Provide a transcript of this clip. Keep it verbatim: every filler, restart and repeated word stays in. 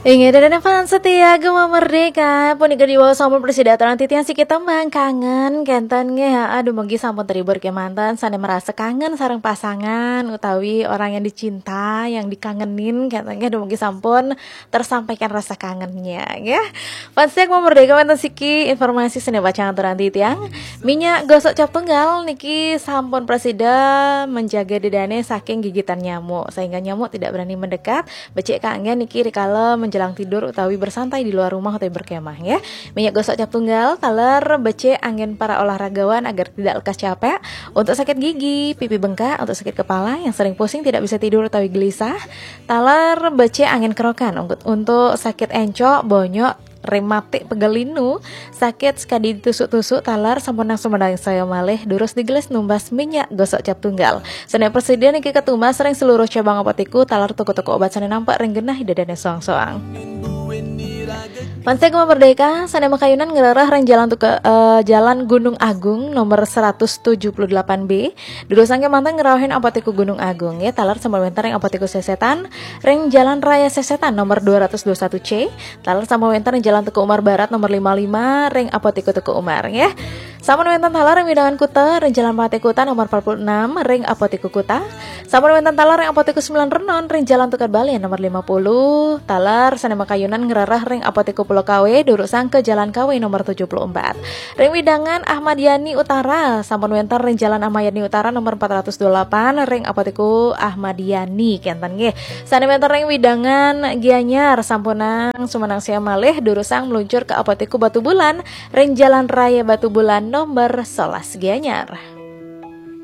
Inggih, dadané fans setia Gema Merdeka, punika diwaos sampun prasida aturang titiang siki tembang kangen, kénten nggih. Aduh, mugi sampun terhibur kémanten, sané merasa kangen sareng pasangan utawi orang yang dicinta, yang dikangenin, kénten nggih. Aduh, mugi sampun tersampaikan rasa kangennya, nggih. Fans setia Gema Merdeka, wénten siki informasi sané pacang aturang titiang. Minyak gosok cap tunggal niki sampun prasida menjaga dadané saking gigitan nyamuk, sehingga nyamuk tidak berani mendekat. Becik kanggé niki rikala menjelang tidur utawi bersantai di luar rumah utawi berkemah, ya. Minyak gosok cap tunggal, taler becik anggén para olahragawan agar tidak lekas capek. Untuk sakit gigi, pipi bengkak, untuk sakit kepala, yang sering pusing tidak bisa tidur utawi gelisah, taler becik anggén kerokan. Untuk, untuk sakit encok, bonyok, rematik, pegel linu, sakit sekadi ditusuk-tusuk, taler sampun nang sumedang saya malih, durus digelis numbas minyak gosok cap tunggal. Sané prasida niki katumbas ring seluruh cabang apotiku, taler toko-toko obat sané nampek ring genah dadané soang-soang. Fans setia Gema Merdeka, sané makayunan ngrereh ring Jalan Tuka-, eh, Jalan Gunung Agung nomor seratus tujuh puluh delapan B. Durusang kémanten ngrauhin Apotiku Gunung Agung, ya, taler sampun wénten ring Apotiku Sesetan, ring Jalan Raya Sesetan nomor dua ratus dua satu C, taler sampun wénten ring Jalan Teuku Umar Barat nomor lima lima, ring Apotiku Teuku Umar, ya. Sampun wénten taler ring wewidangan Kuta, ring Jalan Patih Kuta nomor empat puluh enam, ring Apotiku Kuta. Sampun wénten taler ring Apotiku Sembilan Renon, ring Jalan Tukad Balian nomor lima puluh, taler sané makayunan ngrereh ring Apotiku Pulau Kawe, durusang ké Jalan Kawe nomor tujuh puluh empat. Ring wewidangan Ahmad Yani Utara, sampun wénten ring Jalan Ahmad Yani Utara nomor empat ratus dua delapan, ring Apotiku Ahmad Yani, kénten nggih. Sané wénten ring wewidangan Gianyar, sampunang sumedang saya malih, durusang meluncur ké Apotiku Batubulan, ring Jalan Raya Batubulan nomor sebelas Gianyar.